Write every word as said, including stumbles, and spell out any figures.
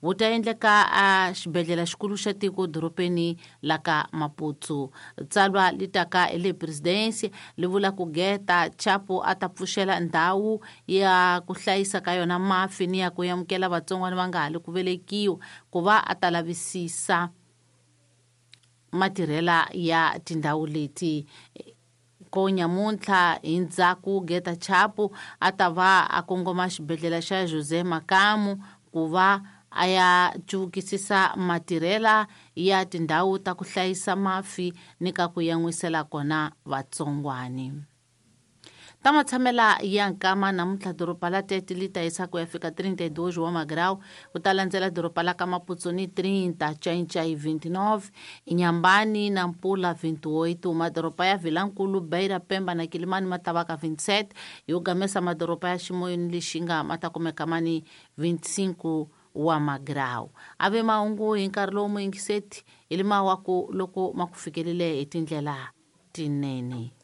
wu ta endleka a xibedhlele xikulu xa tiko dorobeni la ka Maputo. Tsalwa li taka hi le presidency li vula ku Geta Chapo a ta pfuxela ndhawu ya ku hlayisa ka yona mafi ni ya ku amukela vatsongwana va nga ha li ku velekiwa ku va a ta lavisisa matirhela ya tindhawu leti. Ko nyamuntlha hi ndzhaku Geta Chapo a ta va a kongoma xibedhlele xa José Makamu ku va a ya cuvukisisa matirhela ya tindhawu ta ku hlayisa mafi ni ka ku yan'wisela kona vatsongwani. Ta matshamela ya nkama namuntlha doroba la Tete li ta yisa ku ya fika trinta e dois wa magrau, ku ta landzela doroba la ka Maputo ni trinta, Ncaincaí vinte e nove, Inhambane na Nampula vinte e oito, madoroba ya Vilankulu, Beira, Pemba na Quilimane ma ta va ka vinte e sete, yo gamesa madoroba ya Chimoio ni Lixinga ma ta kumeka ma ni vinte e cinco wa magrau. Ave mahungu hi nkarhi lowu muyingiseti hi lima wa ku loko ma ku fikelele hi tindlela tinene.